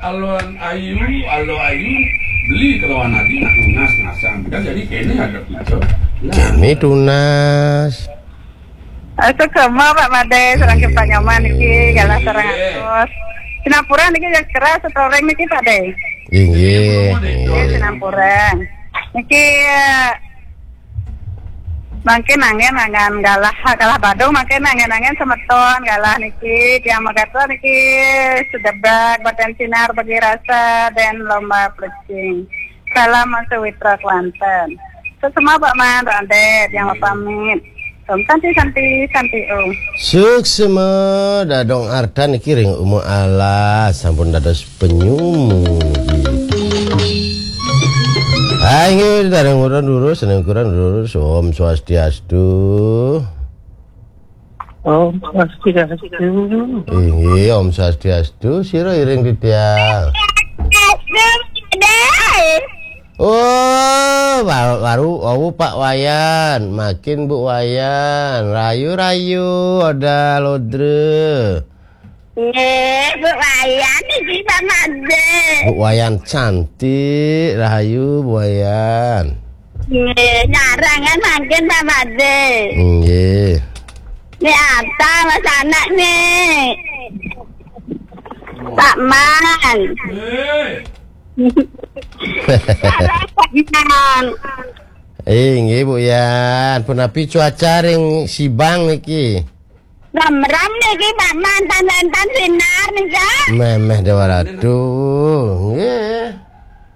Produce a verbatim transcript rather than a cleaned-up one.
Alon ayu, alo ayu, beli kelawan lagi nak tunas-tunasan. Kan jadi kene ada kucuk. Nah. Kene tunas. Suksma Pak Made, sareng Pak Nyoman niki, galah sareng atus. Sinampura niki ya keras setoreng niki Pak De. Inggih. Nggih, sinampura. Niki, eh, mangkin angin angan galah, galah Badung mangkin angin-angin semeton galah niki, tiang megaton niki sedebak badan sinar bagi rasa dan lomba plecing. Salam Sawitra Kelantan. Suksma Pak Man, Pak Ade, tiang pamit. Om Santi, Santi, Santi Om. Suksma, dadong artan niki ring uma alas, sampun dados penyumugi. Hai, nggih, dareng urun durus, seneng kurang durus. Om Swastiastu. Om Swastiastu. Inggih, Om Swastiastu. Sira iring titiang. Oh, wa-, waru, wawu Pak Wayan, makin Bu Wayan, rayu-rayu, ada lodre. Nggih, Bu Wayan niki Pak Made. Bu Wayan cantik, rahayu Bu Wayan. Nggih, nyarangan mangkin Pak Made. Nggih. Ni apa Mas anak ni? Pak Man. Pak Man. Eh, nggih Bu Yan, punapi cuaca ring Sibang niki? Ramram niki Pak Man, tan wénten sinar nika. Memeh Dewa Ratu. Nggih.